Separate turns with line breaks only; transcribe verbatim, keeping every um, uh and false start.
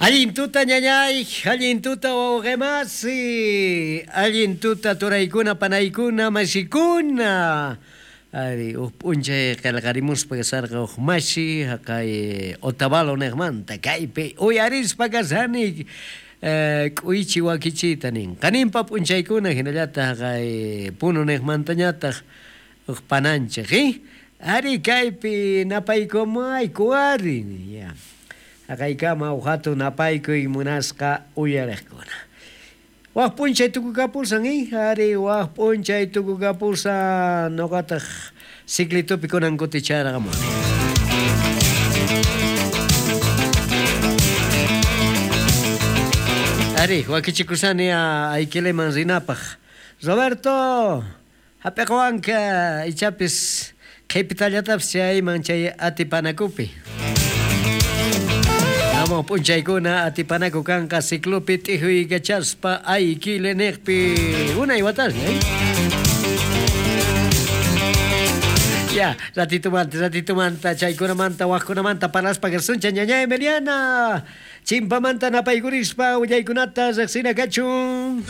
Allin tuta ñañay, allin tuta wawqimasi, allin tuta turaykuna, panaykuna, masikuna. Ari, uj p'unchay qillqarimuspa kasarqa uj mashi haqay Otavalo niqmanta kaypi uyarispa kasani k'uychi wakichiyta nin. Qaninpa p'unchaykuna hinallataq haqay Puno niqmantañataq uj pananchik, Ari kaypi napaykumayku ari, ya. Haqaykama uj hatun napaykuy munasqa uyariqkuna. Waj p'unchay tukukapusan, ari waj p'unchay tukukapusan noqataq ciclitupi kunan kuticharqamuni. Ari, wakichikusani aykileman rinapaq. Roberto, hap'iqwanka ichapis qhipitallatapis chayman chay atipanakupi. Amo p'unchaykuna atipanaku kanqa ciclopi t'ijuykachaspa aykile niqpi unay watasña, eh? Ya, ratitumanta, ratitumanta, chaykunamanta, wajkunamanta parlaspa kasuncha ñañay Emiliana. Chimpamanta napaykurispa willaykunata riqsina kachun.